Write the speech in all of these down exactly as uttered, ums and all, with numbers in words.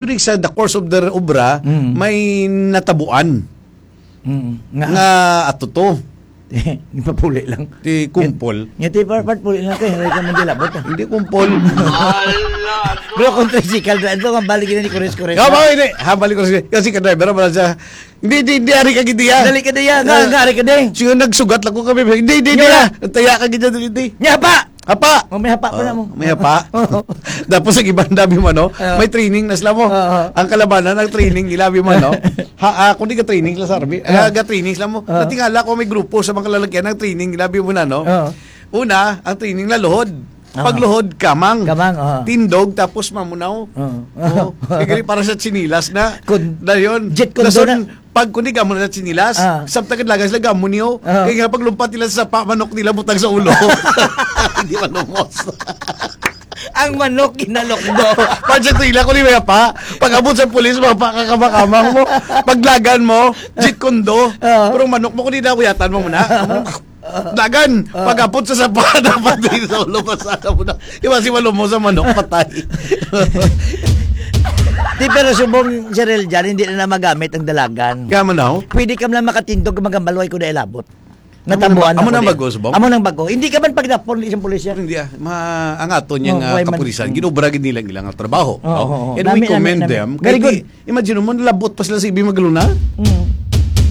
During sa the course of their obra, Mm. may natabuan Mm. Nga, nga ato to. Ipapuli lang. Ti kumpol. Nga ti part, part puli lang kay, hindi ka man dilabot, ah. Hindi kumpol. Bro, kung tricycle, dra-, ito, ang balik na ni Kores, Kores, Nga ba, ah. Hindi. Ha, balik ko siya. Kasi ka driver, wala siya. Hindi, hindi, hindi, ari ka gid diya. Dali ka diya. Nga, Ah. nga, ari ka diya. Sige, nagsugat lang ko kami. Hindi, hindi, Nga hindi, wala. Ah. Taya ka gid diya, hindi. Nga pa! Hapa! Oh, may hapa pa Oh, na mo. may hapa. Tapos ang iban, dami mo, no? Oo. May training na sila mo. Oo. Ang kalabanan, ang training, ilabi mo, no? Ha, ah, kung di ka training sila sa Army, Oo. ah, ga training sila mo. Oo. Natingala ko may grupo sa mga lalagyan ng training, ilabi mo na, no? Oo. Una, ang training na luhod. Oo. Pagluhod, kamang. Kamang, oo. Tindog, tapos mamunaw. Oo. Oo. Kaya para sa chinilas na. Kun-, Dayon, Jeet Kune Do dason, na. Pag kundi ka mo na sinilas, Ah. samtang kadlagan sila gamon niyo. Ah. Kaya nga paglumpat nila sa sapa, manok nila butang sa ulo. Hindi manumos. Ang manok ginalokdo. Pag sa tila ko ni may pa, pag abot sa pulis, mga pa, kakabakamang mo, paglagan mo, Jeet Kune Do, Ah. pero manok mo, kundi na kuyatan mo muna. Dagan, Ah. pag-apot sa sapa, dapat din sa ulo, masala mo na. Iwa si Walo mo sa manok, patay. Di, pero subong, Sir Eljan, hindi na, na magamit ang dalagan. Kaya man daw? Pwede ka lang makatindog, magambal, way ko na ilabot. Amo na Natabuan ba-, amo ako na di. bago, subong? Amo nang bago. Hindi ka man pagdapon, isang pulis yan. Hindi, ah. Ma-, ang ato niya Oh, nga why man? kapulisan, Mm. ginobra gid nila ang ilang trabaho, Oo, no? oo, oo. And we Nami, nami, commend nami. them. Very Kay good. di, Imagine mo, nalabot pa sila sa Ibi Magluna. Mm.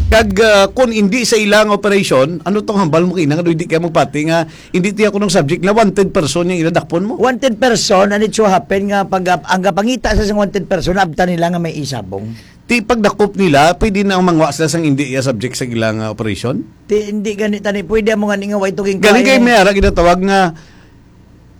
Kag, ah, kung hindi sa ilang operation, ano tong hambal mo kina nga hindi kaya magpati nga hindi tiya ko ng subject na wanted person yung inadakpon mo? Wanted person, and it so happen nga pag, ang kapangita sa isang wanted person, abtan nila nga may isabong. Ti pagdakop nila, pwede na ang mangwa sila sang hindi iya subject sa ilang, ah, operation? Ti, hindi gani tani, pwede mo gani nga way tuging Galing kay may ara ginatawag nga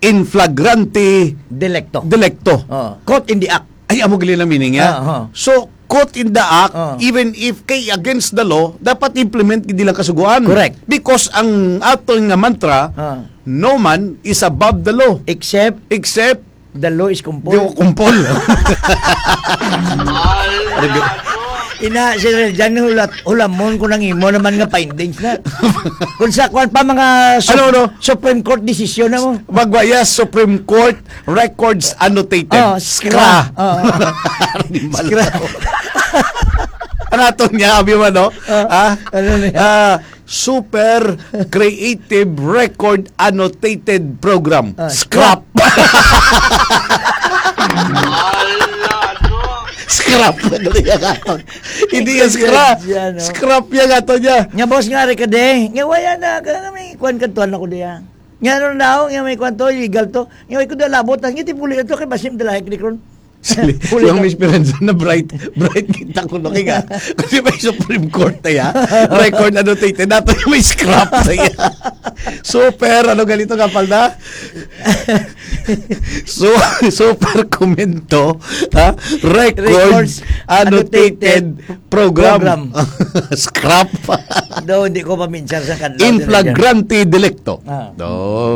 in flagrante Delicto. delicto. Oh, caught in the act. Ay, amo gali na meaning niya. Ah, ah. So, caught in the act, Ah. even if kay against the law, dapat implement gid nila kasugoan. Correct. Because ang aton nga mantra, Ah. "No man is above the law." Except Except the law is kumpol. Di ko kumpol. Ina, Sir Eljan, hulat-, hulamon ko nang imo naman nga findings na. Kung sa kuwan pa, mga sup-, Ano, ano? Supreme Court decision na mo. Magwaya, Supreme Court records annotated. Oh, Skra. Skra. Oh. Di ba Skra. lang? Ang aton niya, abi mo, no? Ah, Ah? ano na yan? Ah, Super Creative Record Annotated Program. Ah, Scrap. Scrap na gali ang aton. Hindi yan Hindi scrap. yan, no? Scrap yan ato niya. Nga, boss, nga, Rica Day. Nga, wala na. Kaya nga may kwan kantuan ako diya. Nga, ano na ako? Nga, may kwan to, illegal to. Nga, may kuda labot. Nga, tipuli na to. Kay Basim Dalahik ni Kron. Sili, Huli yung ka. Miss Esperanza na bright, bright kita ko looking, ah. Kasi may Supreme Court na ya. Record annotated. Nato yung may scrap na ya. Super, ano ganito nga palda? So, super komento, ha? Records Records annotated annotated program. program. Scrap. Do, hindi ko maminsar sa kanila. In flagrante delicto. Ah. Do,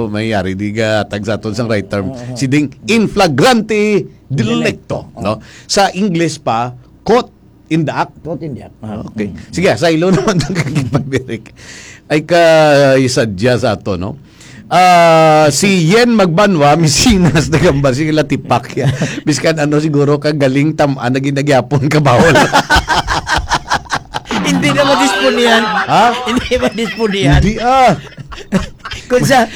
may yari di ga tagsaton sang right term. Oo. Si Ding, in flagrante delicto, Delicto. no? Sa English pa, caught in the act. Caught in the act. Ah, Okay. mm. Sige, sa ilo naman ang kakipagbirik. Ay ka, isadya sa ato, no? Ah, si Yen Magbanwa, misinas na gambar, sige, latipak ya. Biskan ano siguro ka galing tam-, ah, naging nagyapon ka bawal. Hindi na madispunihan. Ha? Hindi madispunihan. Hindi, ah. Kung sa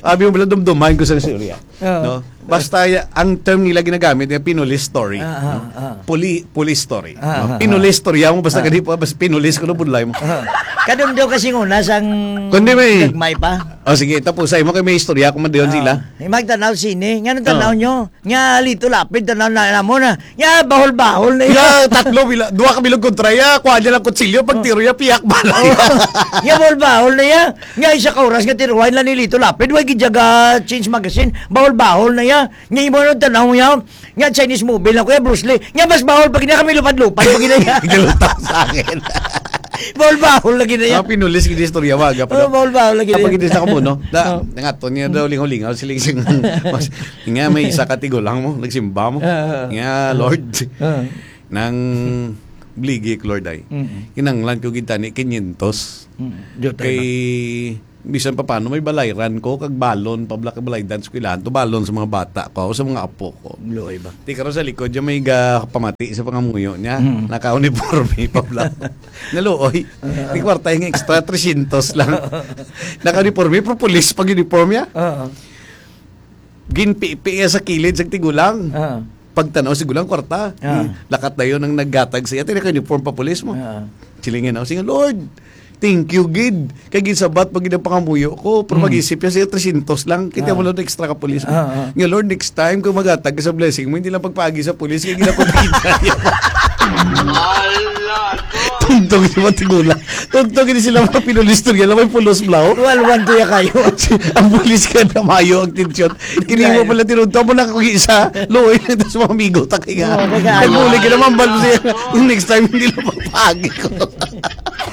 Abi mo pala, dumdumahin ko sa istorya. Oo. No? Basta ya-, ang term nila ginagamit nga pinulis story, Ah, ah, no? ah. Puli-, police story, Ah, no? ah, Pinulis ah. story mo, basta Ah. kadi pa, basta pinulis ko, no, budlay mo. Ah. Kadumdo kasi nguna sang Kundi may gagmay pa. Oh, sige, tapos sa imo kay may istorya kung madiyon Ah. sila. Imag tanaw sini. Ngano tanaw Ah. nyo? Nga Lito Lapid, tanaw na, na mo na. Nga bahol-bahol na yun. Ya, tatlo, bila, duha ka bilog kontra ya, kuha niya lang kutsilyo, pag Oh. tiro ya, piyak balay. Oh. Nga bahol-bahol na ya. Nga isa ka oras nga tiruhay na ni Lito Lapid, way gid siya ga change magazine, bahol-bahol na ya. Nga imo nang tanaw niya, nga Chinese movie lang, Kuya Bruce Lee. Nga mas bahol pa gina kami lupad-lupad pa gina niya. Galutaw sa akin. Bahol-bahol lagi na ya. Ah, pinulis gid istorya, waga pa Oh, daw. Bahol-bahol lagi na Kapag ya. hindi sa kamo, no? Da, Oh. nangato niya daw lingaw-lingaw, siling sing, mas, nga may isa ka tigulang mo, nagsimba mo. Ah, ah, ah. Nga, Ah. Lord, Ah. nang bligik, Lord, ay. Mm. Kinanglan ko gid tani quinientos. Mm. Diyo tayo Kay na. Bisan pa paano, may balayran ko, kag balon, pabla kag balaydan sa eskwelahan, to balon sa mga bata ko, sa mga apo ko. Luoy ba? Ti karon sa likod, dyan may ga-, pamati sa pangamuyo niya. Mm. Naka-uniforme, pabla. Naluoy. Ni kwarta yung extra, tresyentos lang. Naka-uniforme, pero pulis pag uniform niya. Oo. Ginpipi iya sa kilid sa tigulang. Ah. Pagtanaw sa tigulang, kwarta. Ah. Hmm. Lakat dayon ang naggatag sa iya. Tinaka uniform pa pulis mo. Ah. Silingan ako, siya, "Lord, thank you, gid. Kay ginsabat pa gid ang pangamuyo ko, pero Hmm. mag-isip niya siya, tresyentos lang. Kita Ah. mo lang extra ka pulis mo." Ah, ah. Nga, "Lord, next time, kung magatag ka sa blessing mo, hindi lang pagpaagi sa pulis, kay ginapagpagitaya." Tugtog si Matigula. Tugtog ini sila mga pinulis to, yan lang may pulos blaw. Walwan to ya kayo. Ang pulis ka na mayo ang tensyon. Kinimo Dahil pala tinunto mo na kung isa. Luoy na ito sa mga amigo. Takay nga. Oo, kaya Ay, ano? Muli ka naman, bal siya. Yung next time, hindi lang magpagi ko.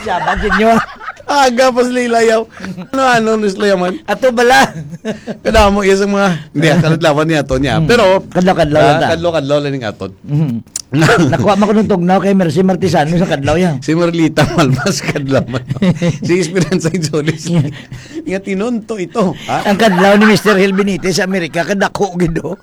Sabat din yun. Aga pa sila ilayaw. Ano, ano, Miss Layaman? Ato bala. Kada mo, iya sa mga, hindi, ah, kadlawan niya to niya. Hmm. Pero, Kadlaw-kadlaw lang ah, ta. Kadlaw-kadlaw lang yung aton. Mhm. Nakuha man ko nung tugnaw kay Mercy Martisano sa kadlaw yan. Si Merlita Malmas kadlaw man. Si Esperanza Jolis. Nga tinunto ito, ha? Ang kadlaw ni Mister Hil Benitez sa Amerika, kadako gid, oh.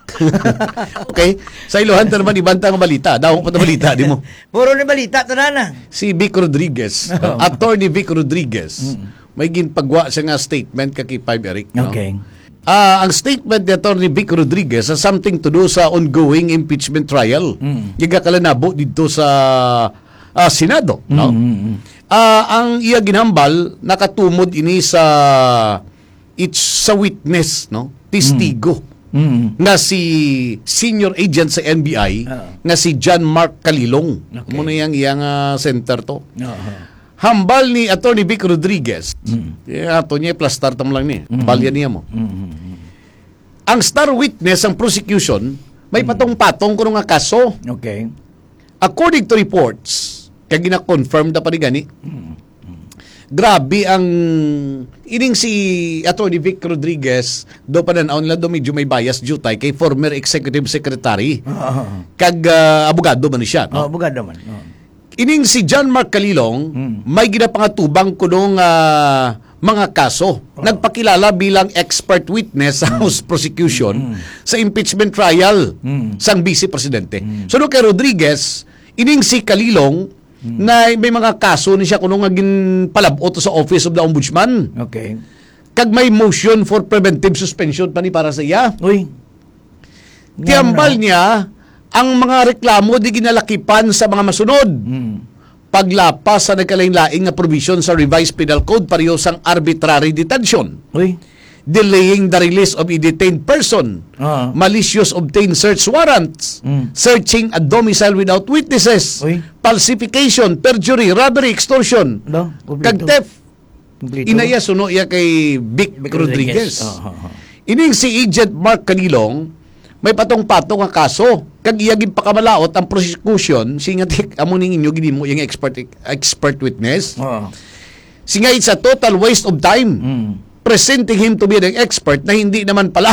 Okay. Sa iluhan ta naman, ibanta nga balita. Dahon pa ta balita, di mo? Puro ni balita, tanan na. Si Vic Rodriguez, Oo. Attorney Vic Rodriguez, Mm. may ginpagwa siya nga statement ka kay Five Eric, no? Okay. Ah, ang statement ni Attorney Vic Rodriguez has something to do sa ongoing impeachment trial. Mm. Nga gakalanabo dito sa, ah, Senado, no? Mm, mm, mm. Ah, ang iya ginhambal, nakatumod ini sa, it's sa witness, no? Testigo Mm. Mm. nga si senior agent sa N B I, Ah. nga si John Mark Kalilong. Okay. Amo na yang iyang, ah, center to. Aha. Hambal ni Attorney Vic Rodriguez, Mm. eh, ato niya, plastar tam lang ni. Mm. Balya niya mo. Mm, mm, mm. Ang star witness, ang prosecution, may Mm. patong-patong kuno nga kaso. Okay. According to reports, kay gina-confirm da pa ni gani. Mm. Mm. Grabe ang, ining si Attorney Vic Rodriguez, do pa nanaon nila do medyo may bias jutay kay former executive secretary. Ah, ah, ah. Kag, ah, abogado man ni siya, no? Oh, abogado man. Oh. Ining si John Mark Kalilong, Mm. may ginapangatubang kuno nga mga kaso. Oh. Nagpakilala bilang expert witness sa Mm. House Prosecution Mm. sa impeachment trial Mm. sang Vice Presidente. Mm. Sunod kay Rodriguez, ining si Kalilong, Mm. na may mga kaso ni siya kuno nga ginpalabot sa Office of the Ombudsman. Okay. Kag may motion for preventive suspension pa ni para sa iya. Uy. Tiyambal Ngano? niya, ang mga reklamo di ginalakipan sa mga masunod. Mm. Paglapas sa nagkalain-lain nga provision sa Revised Penal Code, pareho sang arbitrary detention, Uy. delaying the release of a detained person, Ah. malicious obtained search warrants, Mm. searching a domicile without witnesses, Uy. falsification, perjury, robbery, extortion, Da, kag kompleto. theft. Kompleto. Inaya suno iya kay Vic Vic Rodriguez. Rodriguez. Ah, ah, ah. Ining si Agent Mark Kanilong, may patong-patong nga kaso. Kag iya ginpakamalaot ang prosecution, singa tik, amo ning inyo ginimo yang expert, expert witness. Oo. Singa it's a total waste of time. Mm. Presenting him to be an expert na hindi naman pala.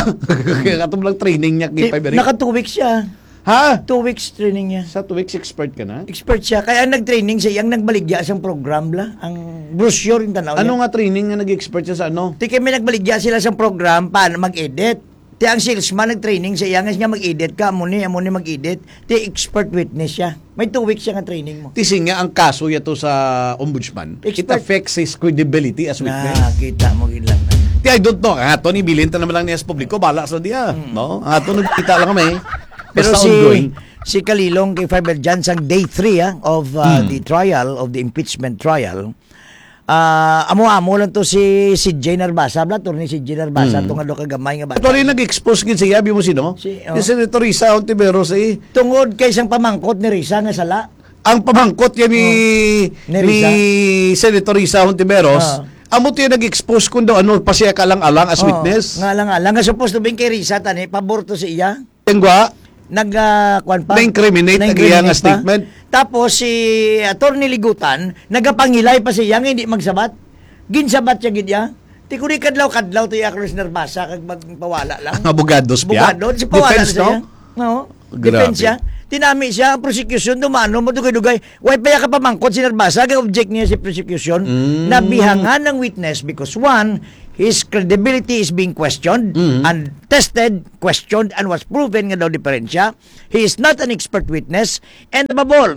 Kaya katong lang training niya kay Di, Five Eric. naka two weeks siya. Ha? Two weeks training niya. Sa two weeks, expert ka na? Expert siya. Kaya ang nag-training sa iyang nagbaligya sang program, bla. Ang brochure yung tanaw Ano niya. nga training nga nag-expert siya sa ano? Ti kay may nagbaligya sila sang program paano mag-edit. Ti ang salesman nag-training sa iya nga siya mag-edit ka, amo ni, amo ni mag-edit. Ti expert witness siya. May two weeks siya nga training mo. Ti singa ang kaso yato sa ombudsman, it Expert. affects his credibility as witness. Na, kita mo gid lang na. Ti, I don't know. Ang ato ni bilin ta naman lang niya sa publiko, bala sa diya. Mm. No? Ang ato nagkita lang kami. Pero Basta si, ongoing. si Kalilong kay Five Eric dyan, sang day three, ah, of, ah, Hmm. the trial, of the impeachment trial, ah, amo-amo lang to si, si Jay Narbasa, bla, attorney si Jay Narbasa, Hmm. to nga do kagamay nga bata. Ito rin nag-expose gid siya, abi mo sino? Si, Si oh. Senator Risa Ontiveros, eh. Tungod kay sang pamangkot ni Risa nga sala. Ang pamangkot yan ni, Oh. Ni ni Risa. Senator Risa Ontiveros, Ah. amo to yung nag-expose kung daw ano pa siya kalang-alang as Oh, witness. nga lang-alang. Nga supposed to be kay Risa, tani, pabor to sa iya. Tengwa, Nag, ah, kwan pa? Na-incriminate ang iya nga Na-incriminate pa. statement. Tapos si Attorney Ligutan, nagapangilay pa siya nga hindi magsabat. Ginsabat siya gid iya. Ti kuni kadlaw-kadlaw to iya, Cruz Narbasa, kag magpawala lang. Ang abogados biya? Abogado, si pawala Defense, na siya. no? No. Grabe. Defense siya. Tinami siya, ang prosecution, dumano mo, dugay-dugay. Way pa iya kapamangkot si Narbasa, kay object niya si prosecution, Mm. nabihangan ng witness because one, His credibility is being questioned Mhm. and tested, questioned, and was proven nga daw diferensya. He is not an expert witness. And above all,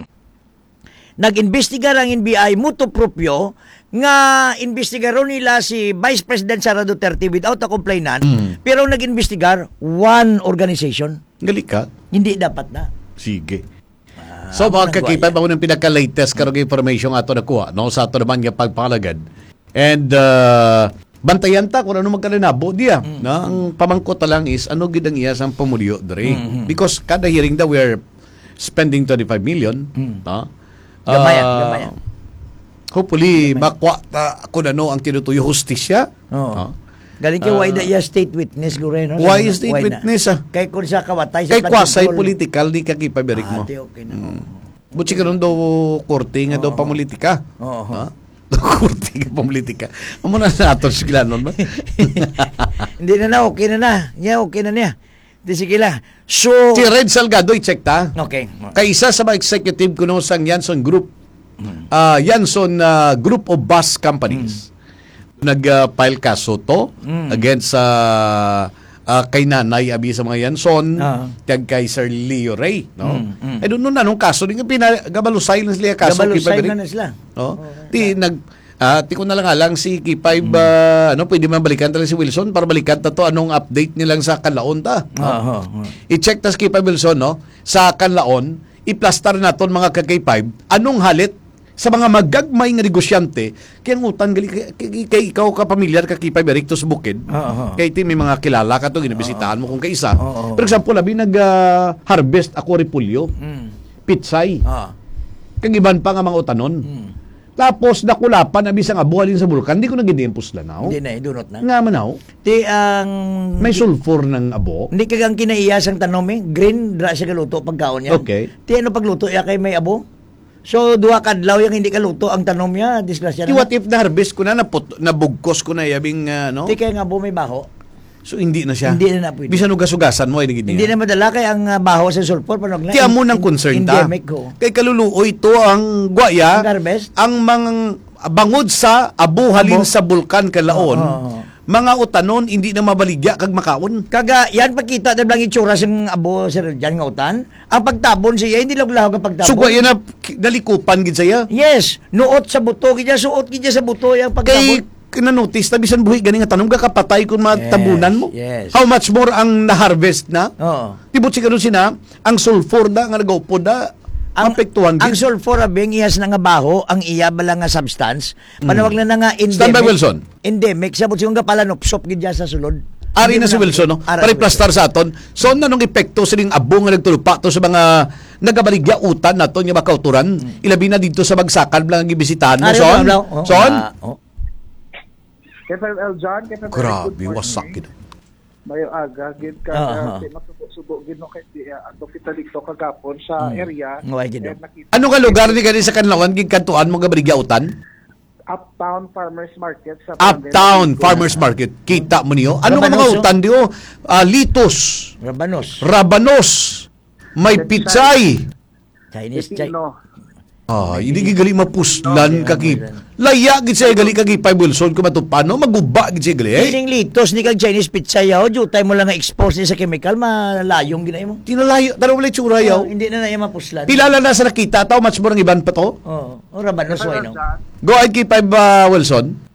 nag-imbestigar ang N B I motu proprio nga imbestigaron nila si Vice President Sara Duterte without a complainant, Mm. pero nag-imbestigar one organization. Gali ka? Hindi dapat na. Sige. Ah, So, mga amo nang kakipay, guaya. Mao nang pinaka-latest karong information nga ato nakuha, no? Sa ato naman nga pagpalagad. And, uh, bantayan ta kung ano magkalinabo diya, Mm. no? Ang pamangkot ta lang is, ano gid ang iya sang pamulyo, dre? Mm-hmm. Because kada hearing daw, we are spending twenty-five million, Mm. no? Gamay, ah, Ah, gamay. Hopefully, Gamay. makuha ta kung ano ang tinutuyo hustisya. Oo. No? Galing kay why Ah. the iya state witness, guro, no? Why Sa mga, state why na? witness, ah? Kay kung sa kawatay, sa Kay flood control. quasi-political ni Kaki Pabrik Ah, mo. di okay na. Mm. Butsi ka ron daw korte nga daw Oo. pamulitika. Oo. Ha? Korte nga pamulitika. Amo na sa aton sigilanon ba? Hindi na na, okay na na. Niya, okay na niya. Di sige la. So, Si Red Salgado, i-check ta. Okay. Kay isa sa mga executive kuno sang Yanson Group. Hmm. Ah, Yanson, ah, Group of Bus Companies. Hmm. Nag, ah, file kaso to Hmm. against sa, ah, kay nanay abi sa mga Yanson, Ah. kag kay Sir Leo Ray, no? Hmm, hmm. I don't know na anong kaso, di nga pina-, gabalusay lang sila kaso, Gabalusay Kipay Balik. na na sila. No? Oo. Ti, nag, ah, ti ko na lang alang si Kipay Hmm. ba, ano, pwede man balikan talaga si Wilson para balikan ta to anong update nilang sa Kanlaon ta, no? Aha, aha. I-check ta si Kipay Wilson, no? Sa Kanlaon, i-plastar naton mga ka-K five, anong halit sa mga magagmay nga negosyante, kay ang utan gali, kay, kay, kay ikaw ka pamilyar ka Kipay Bericto sa bukid, Oo, oo. kay ti may mga kilala ka to, ginabisitahan Oo. mo kung kaisa. Oo, oo. For example, abi nag, ah, harvest ako repolyo, Mm. pitsay, Ah. kag iban pa nga mga utanon. Mm. Tapos nakulapan abi sang abo halin sa bulkan, di ko na gid puslan, no? Hindi na, idunot na. Nga man, no? Ti ang May sulfur ng abo. Hindi kag ang kinaiya sang tanom, eh, green, dra siya galuto pagkaon niya. Okay. Ti ano pagluto iya kay may abo? So, duha ka adlaw yang hindi kaluto ang tanom niya, disgrasya Ti na. What if na-harvest ko na, naput-, nabugkos ko na, yabing, ah, no? Ti kay nga abo may baho. So, hindi na siya. Hindi na na pwede. Bisan hugas-hugasan mo, ay, hindi Hindi niya. na madala kay ang, ah, baho sa sulfur, panog na Ti amo en-, nang en-, concern ta. endemic, oo. Kay kaluluoy to ang guaya, Ang harvest? ang mang-, bangod sa abo halin Abo? sa bulkan Kalaon, Oo, oo, oo. mga utanon hindi na mabaligya kag makaon. Kaga, yan pakita na lang itsura sang abo, Sir Jan, nga utan. Ang pagtabon siya, hindi lang lahog ang pagtabon. So, guaya na, nalikupan gid siya? Yes. Nuot sa buto, gid siya, suot gid siya sa buto, yung Kay pagtabon. Kinonotice na bisan buhi gani nga tanom, gakapatay kung Yes, matabunan mo. yes. How much more ang na-harvest na? Oo. Tibot si karon sina, ang sulfur na nga nagaupod na, Ang, maapektuhan ang gid. sulfur, abi, ang iyas na nga baho, ang iya bala nga substance, Mm. panawag na na nga Standby, endemic. Wilson. Endemic, sabot siya nga palanupsop gid siya sa sulod. Ari Hindi na mo si na Wilson, no? Ara si Wilson. Pariplastar sa aton. So, ano nang epekto sining abo nga nagtulupa to sa mga nagabaligya utan naton nga makauturan? Mm. Ilabi na dito sa bagsakan lang ang gibisitahan mo, Ari, Son? Bro, oh. Son? Ah, oh. K five L John, K five L, Grabe, good morning. Wasak gid. Mayo aga gid ka, Ah, ah. Kay masubo-subo gid, no, kay di, ah, ato kita dito kagapon sa Mm. area. Nga, wala gid, Eh, no. nakita Ano nga lugar ni gani sa Kanlawan, gid kantuan mo nga baligya utan? Uptown Farmers Market sa Barangay Uptown Maligo. Farmers Market. Kita mo niyo? Ano nga mga Rabanos, oh. utan diyo? Ah, litos. Rabanos. Rabanos. May Pechay. pechay. Chinese, Chi- Pepino. Ah, hindi gid gali mapuslan Okay, ka okay, ki-, okay. Laya gid siya gali ka Kipay Wilson kung matupano, maguba gid siya gali, eh. Kining litos ni kag Chinese pechay, oh, jutay mo lang nga expose ni sa chemical, malayong gid na imo. Tinalayo, tanaw wala itsura, Oh, yaw. hindi na na iya mapuslan. Pila lang na sa nakita, taw, much more ang iban pa to? Oh, oh, rabanos, Kaya why no? dyan, Go ahead, Kipay, uh, Wilson.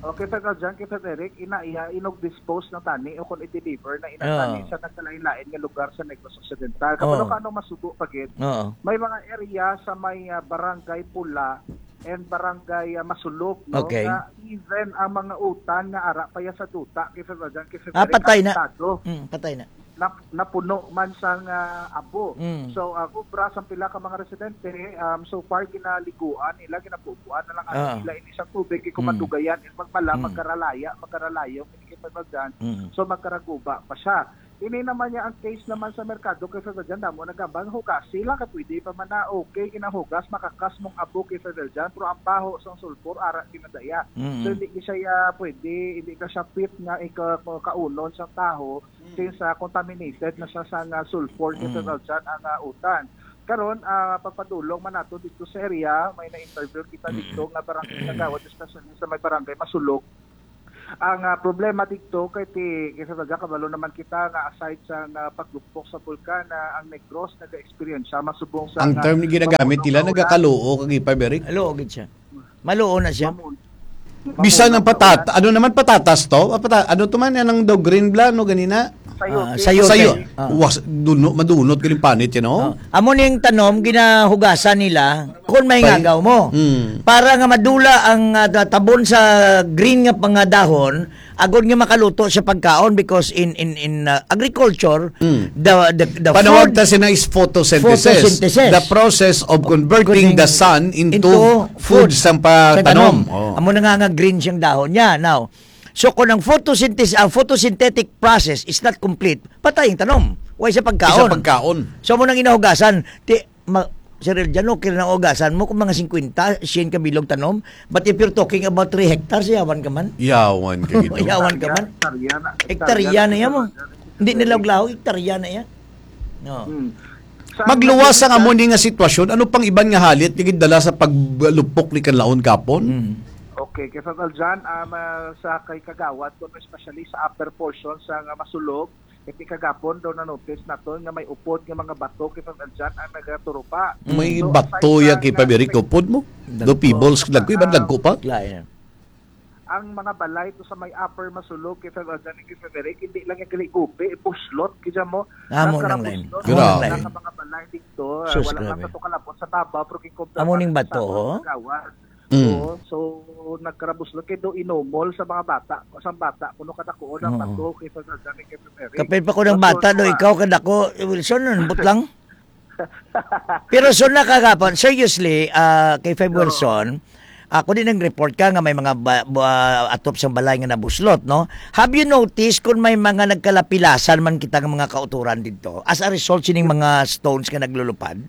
Okay, Sir Kaljan, kay Sir Eric, ina iya, inog-dispose na tani o kung i-deliver na ina Oo. tani sa nagkalain-lain nga lugar sa Negros Occidental. Oo. Kapag ano masubo pa gid, Oo. may mga area sa may, ah, Barangay Pula and Barangay, ah, Masulog, no? Okay. Nga even ang mga utan nga ara pa ya sa duta, kay Sir Kaljan, kay Sir Ah, Eric, patay na. apektado. Mm, patay na. nap-, napuno man sang, ah, abo. Mm. So, ah, obra sang pila ka mga residente, um, so far ginaliguan nila, ginapupuan na lang ang Ah. nila ini sa tubig, kay kung Mm. madugayan, in magmala, Mm. magkaralaya, magkaralayong, ini kay pagbagan. Mm. So, magkaraguba pa siya. Ini naman niya ang case naman sa merkado kay Sir Bajan, damo nagambal, hugasi lang kay pwede pa man na, okay, ginahugas, makakas mong abo kay Sir Bajan, pero ang baho sang sulfur, ara kinadaya. Mm. So, hindi siya, pwede, hindi ka siya fit nga ika-, kaunon sa taho, Mm. since, ah, contaminated na siya sa nga sulfur, Mm. Sir Valjan, ang, ah, utan. Karon, ah, pagpadulong man nato dito sa area, may na-interview kita Mm. dito nga barangay kagawad, especially sa may barangay Masulog. Ang, ah, problema dito kay ti-, kay sa taga kabalo naman kita nga aside sa nga paglupok sa bulkan, ah, ang Negros naga-experience siya masubong sa Ang nga term nga ginagamit nila, pagbunukan. Nagakaluo kag ipa, Eric. Luo gid siya. Maluo na siya. Mamun-, Bisan mamun-, ang patat-, ano naman patatas to? Ah, pata-, ano to man? Yan ang daw green bla, no, ganina? Sayote. Ah, sayote. Sayo. Ah. Was, duno, madunot galing panit yan, oh. Ah. Amo ning tanom, ginahugasan nila kung may Pay-, ngagaw mo. Mm. Para nga madula ang, ah, tabon sa green nga pangadahon, agod nga makaluto siya pagkaon because in, in, in, ah, agriculture, Mm. the, the, the Panawag food ta sina is photosynthesis. Photosynthesis. The process of converting the Converting sun into into food food. Sang pa-, Sa tanom. tanom. Oh. Amo na nga nga green siyang dahon niya. Now, so kung ang photosynthesis, ang photosynthetic process is not complete, patay ang tanom. Way sa pagkaon. Isa pagkaon. So, amo nang inahugasan. Ti, ma-, Sir Eljan, okay na ugasan mo kung mga singkwenta, siyen ka bilog tanom. But if you're talking about three hectares, yawan ka man. Yawan ka, Ginoo. Yawan ka man. Hektarya na, Hektarya hektarya na na, yan mo. Hektarya na. Hindi na lawlaw, hektarya na yan. No. Hmm. Sa Magluwas ang mga amo ni nga sitwasyon, ano pang iban nga halit nga gindala sa paglupok ni Kanlaon kapon? Mm. Okay, kay Fab Aljan, um, ah, sa kay Kagawad, kuno especially sa upper portion sa nga Masulog, kay kagapon daw na-notice naton nga may upod nga mga bato kay Fab Aljan ang nagaturupa. May So, bato aside ya sa kay nga Fab Eric may upod mo? Do Dagko. pebbles, dagko, iban Ah, dagko pa? Lain. Ang mga balay to sa may upper Masulog kay Fab Aljan, kay Fab Eric, hindi lang yung gali gupi, buslot, kaya mo, Amo nang lain. nagkarabuslot. Amo nang Grabe. lain. Ang mga balay dito, ah, Sus, wala grabe. na to kalapot sa babaw, pero kikumpara Amo ning sa bato, babaw ho? sa Kagawad. Mm. Oo, so, nagkarabuslot kay do inomol sa mga bata. Sa bata, kuno kadako ang Oo. bato kay Fab Aljan, kay Fab Eric. Kapin pa ko ng Bato bata, do, na ikaw kadako, Wilson, ambot lang. Pero so nakagapon, seriously, ah, kay Fab Oo. Wilson, ako din nag-report ka nga may mga ba-, ba-, atop sa balay nga nabuslot, no? Have you noticed kung may mga nagkalapilasan man kita nga mga kauturan dito as a result sining mga stones nga naglulupad?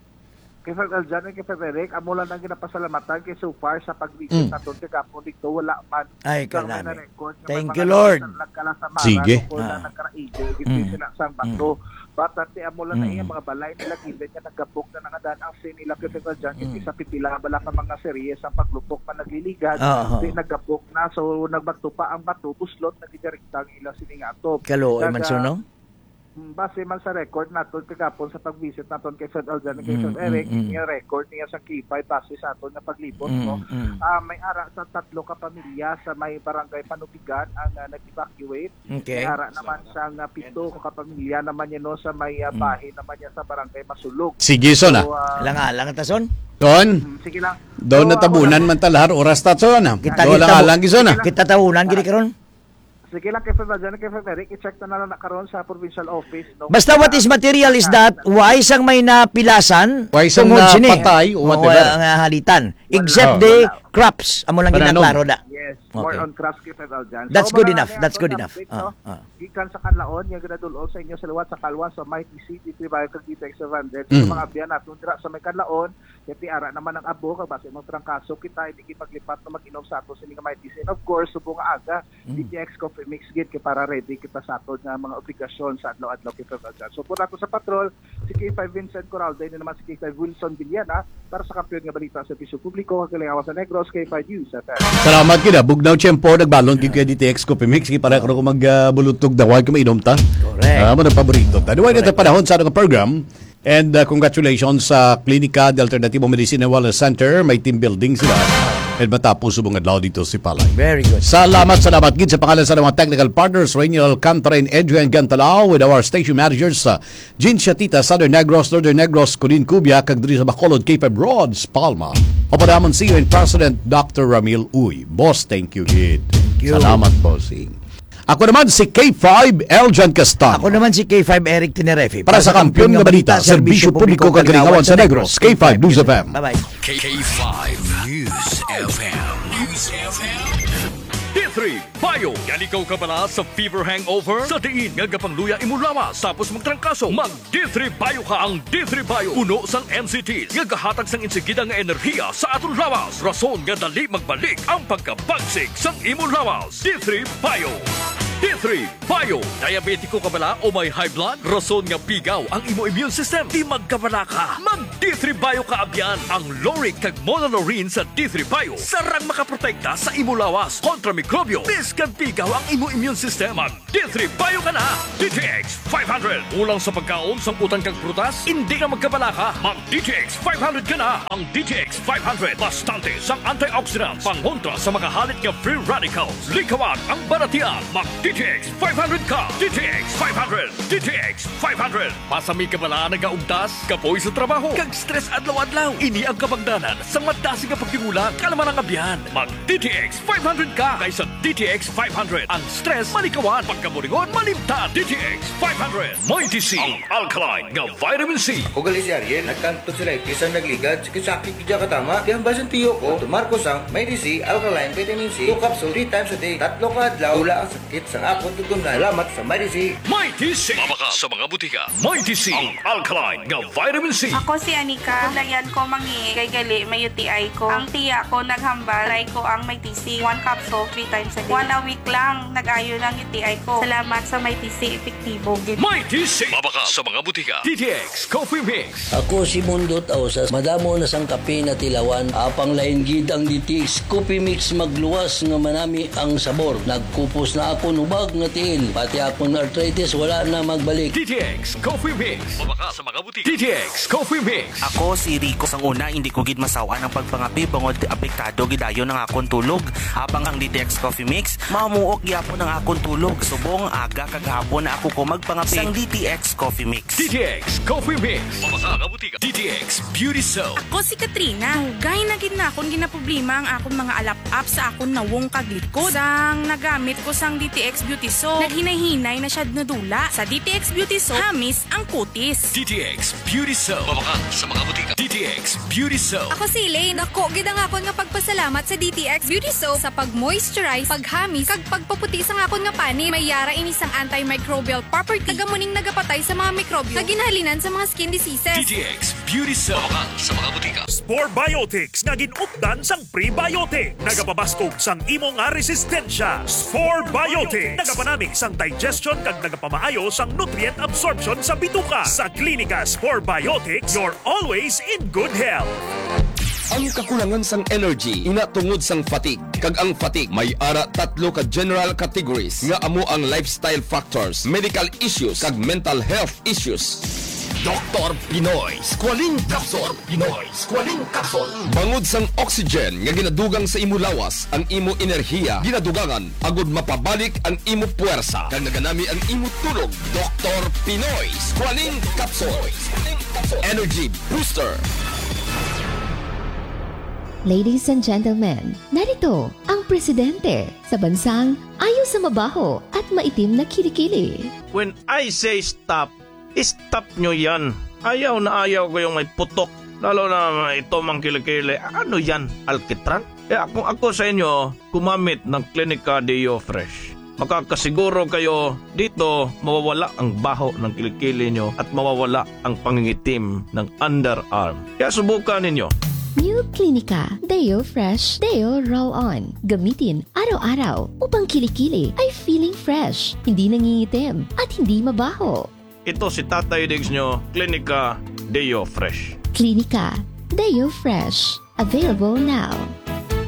Kay Fab Aljan, kay Fab Eric, amo lang ang ginapasalamatan kay so far sa pag-visit Mm. naton kagapon dito, wala man Ay, sa may kanami. na-record nga may Thank mga you, Lord. nagkala-, nagkalasamara Sige. tungkol na Ah. nagkaraigo, gid Mm. sila sa Mm. bato. But ati amo lang na Mm. iya mga balay nila, given nga nagabok na nangadan ang sin nila, kay Fab Aljan, Mm. kasi sa pipila bala ka mga series ang paglupok pa nagliligad, Ah, ah. di nagabok na, so nagbato pa ang bato, buslot na gidirekta ang ila sini nga atop. Kaluoy man, Kaga, so, no? Mm, base man sa record naton kagapon sa pag-visit naton kay Fred Alden, kay Mm, Fred Eric, mm, mm. Yung record niya sa K five base sa aton nga paglibot, Mm, no? mm. Ah, may ara sa tatlo ka pamilya sa may barangay Panubigan ang, ah, nag-evacuate. Okay. May ara naman sa nga pito ka pamilya naman yun, no, sa may, ah, Mm. bahin naman niya sa barangay Masulog. Sige, son, ah. So, ah, Alang-alang ta, son. Son, Mm, sige lang. daw So, natabunan ako lang. man ta lahar oras ta, son, ah. Kita, Daw kita, lang-alang, son, ah. kita tabunan, gini karon. Sige lang, kay Fred Valjean, kay Fred Eric, i-check na lang na karon sa provincial office, no? Basta what is material is that, why sang may napilasan, Why sang tungod sini? napatay o Oo, whatever. nga, nga halitan. Wala. Except Oh. the Wala. crops, amo lang Pananom. ginaklaro na. Yes, more Okay. on crops kay Fred Valjean. That's So, good mga enough. ano, That's good ano, enough. update, Ah, no? ah. Gikan sa Kanlaon, nga ginadul-ong sa inyo sa liwat sa Kalwa, sa Mighty City, Tribayo, Cavite, Extra Vandes. Sa Mm. mga abyan natin, dira sa may Kanlaon, kaya ti ara naman ang abo, kag base mong trangkaso, kita, hindi kita maglipat na mag-inom sa ato sini nga Mighty City. And of course, subong nga aga, Mm. D T X Coffee Mix gid kay para ready kita sa aton nga mga obligasyon sa adlaw-adlaw kay Fred Valjean. So, pura ko sa patrol, si K five Vincent Coralde, ni naman si K five Wilson Villana, para sa Kampiyon nga Balita sa Serbisyo Publiko, kagalingawan sa Negros, K five News F M. Salamat gid, ah. Bugnaw tiyempo, nagbalon gid kay D T X Coffee Mix, kay para ko mag, ah, bulutog daway kung mainom ta. Correct. Ah, mo na paborito ta. Duwa na Correct. ta panahon sa atong program. And, uh, congratulations sa Klinika de Alternativo Medicine and Wellness Center. May team building sila. And matapos subong adlaw dito si Palay. Very good. Salamat, salamat gid sa pangalan sa mga technical partners, Rainiel Alcantara and Adrian Gantalao, with our station managers, uh, Jean Shatita, Southern Negros, Northern Negros, Colin Cubia, kag diri sa Bacolod, K five Rods, Palma. Opo naman, C E O and President, Doctor Ramil Uy. Boss, thank you gid. Thank you. Salamat, bossing. Ako naman si K five Eljan Castaño. Ako naman si K five Eric Tenerefe. Para sa Kampiyon nga Balita, Serbisyo Publiko, Kagalingawan sa Negros, K five News F M. Bye-bye. K five News F M. News F M. D three Bio. Yan ikaw kabala sa fever hangover? Sa diin nga gapangluya imo lawas tapos magtrangkaso, mag D three Bio ka. Ang D three Bio puno sang N C Ts nga gahatag sang insigida nga enerhiya sa aton lawas, rason nga dali magbalik ang pagkabagsik sang imo lawas. D three Bio. D three Bio. Diabetiko ka bala o may high blood? Rason nga pigaw ang imo immune system. Di magkabala ka. Mag D three Bio ka abyan. Ang lauric kag monolaurin sa D three Bio sarang makaprotekta sa imo lawas kontra mikrobyo. Bisan pigaw ang imo immune system, mag D three Bio ka na. D T X five hundred. Kulang sa pagkaon, sang utan kag prutas? Hindi ka magkabala ka. Mag D T X five hundred ka na. Ang D T X five hundred, bastante sang antioxidants, pangontra sa mga halit nga free radicals. Likawan ang balatian. Mag D T X five hundred ka. D T X five hundred. D T X five hundred. Masami ka bala nagaugtas, kapoy sa trabaho, kag stress adlaw-adlaw? Ini ang kabangdanan sa madasig nga pagdingula, kalma ng abyan. Mag D T X five hundred ka, kay sa D T X five hundred, ang stress malikawan, pagkaburingon malimtan. D T X five hundred. Mighty C, ang alkaline nga vitamin C. Ako gali si Ariel, nagkang tonsillitis ang nagligad, sakit-sakit gid katama. Kaya ang basin tiyo ko, tumar ko sang Mighty C alkaline vitamin C, two capsule, three times a day, tatlo ka adlaw, wala ang sakit sang akon tutunan. Salamat sa Mighty C. Mighty C. Mabakal sa mga butika. Mighty C, ang alkaline nga vitamin C. Ako si Anika. Kulayan ko mangi kay gali may U T I ko. Ang tiya ko naghambal, try ko ang Mighty C. One capsule, three times a day. One a week lang, nag-ayo lang U T I ko. Salamat sa Mighty C, epektibo gid. Mighty C. Mabakal sa mga butika. D T X Coffee Mix. Ako si Mundot Ausas. Madamo na sang kape natilawan. Apang lain gid ang D T X Coffee Mix, magluwas nga manami ang sabor. Nagkupos na akon hubag nga tiil. Pati akon arthritis wala na magbalik. D T X Coffee Mix. Mabakal sa mga butika. D T X Coffee Mix. Ako si Rico. Sang una, hindi ko gid masawan ang pagpangape bangod apektado gid ayon ang akon tulog. Apang ang D T X Coffee Mix, mamuok gyapon ang akon tulog. Subong aga kag hapon na ako ko magpangape. Sang D T X Coffee Mix. D T X Coffee Mix. Mabakal sa mga butika. D T X Beauty Soap. Ako si Katrina. Dugay na gid na akon ginaproblema ang akon mga alap-ap sa akon nawong kag likod. Sang nagamit ko sang D T X Beauty Soap, naghinay-hinay na siya nadula. Sa D T X Beauty Soap, hamis ang kutis. D T X Beauty Soap. Mabakal sa mga butika. D T X Beauty Soap. Ako si Elaine. Dako gid ang akon nga pagpasalamat sa D T X Beauty Soap sa pag-moisturize, paghamis, kag pagpaputi sang akon nga panit. May yara ini sang antimicrobial property. Taga mo ning nagapatay sa mga mikrobyo nga ginhalinan sa mga skin diseases. D T X Beauty Soap. Mabakal sa mga butika. Spore Biotics nga gin-updan sang prebiotic. Nagapabaskog sang imo nga resistensya. Spore Biotics. Nagapanami sang digestion kag nagapamaayo sang nutrient absorption sa bituka. Sa Klinika Spore Biotics, you're always in good health. Ang kakulangan sang energy ina tungod sang fatigue, kag ang fatigue may ara tatlo ka general categories nga amo ang lifestyle factors, medical issues, kag mental health issues. Doktor Pinoy Squalene Capsule. Pinoy Squalene Capsule. Bangod sang oxygen nga ginadugang sa imo lawas, ang imo enerhiya ginadugangan agud mapabalik ang imo puwersa, kag naganami ang imo tulog. Doktor Pinoy Squalene Capsule. Energy Booster. Ladies and gentlemen, narito ang presidente sa bansang ayo sa mabaho at maitim na kilikili. When I say stop, stop nyo yan. Ayaw na ayaw ko yung may putok, lalo na ito mang kilikili. Ano yan, alkitran? Kaya kung ako sa inyo, gumamit ng Klinika Deo Fresh. Makakasiguro kayo dito mawawala ang baho ng kilikili nyo at mawawala ang pangingitim ng underarm. Kaya subukan ninyo. New Klinika Deo Fresh Deo Roll On. Gamitin araw-araw upang kilikili ay feeling fresh, hindi nangingitim, at hindi mabaho. Ito si Tatay Diggs nyo, Klinika Deo Fresh. Klinika Deo Fresh. Available now.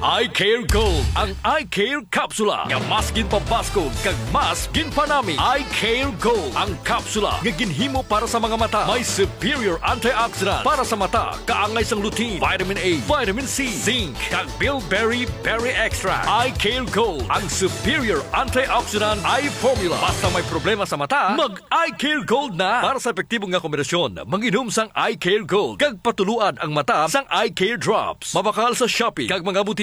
Eye Care Gold, ang Eye Care Capsula nga mas ginpabaskog kag mas ginpanami. Eye Care Gold, ang kapsula nga ginhimo para sa mga mata. May superior antioxidant para sa mata, kaangay sang lutein, vitamin A, vitamin C, zinc, kag bilberry berry extract. Eye Care Gold, ang superior antioxidant eye formula. Basta may problema sa mata, mag Eye Care Gold na. Para sa epektibo nga kombinasyon, manginom sang Eye Care Gold kag patuluan ang mata sang Eye Care Drops. Mabakal sa Shopee kag mga butika.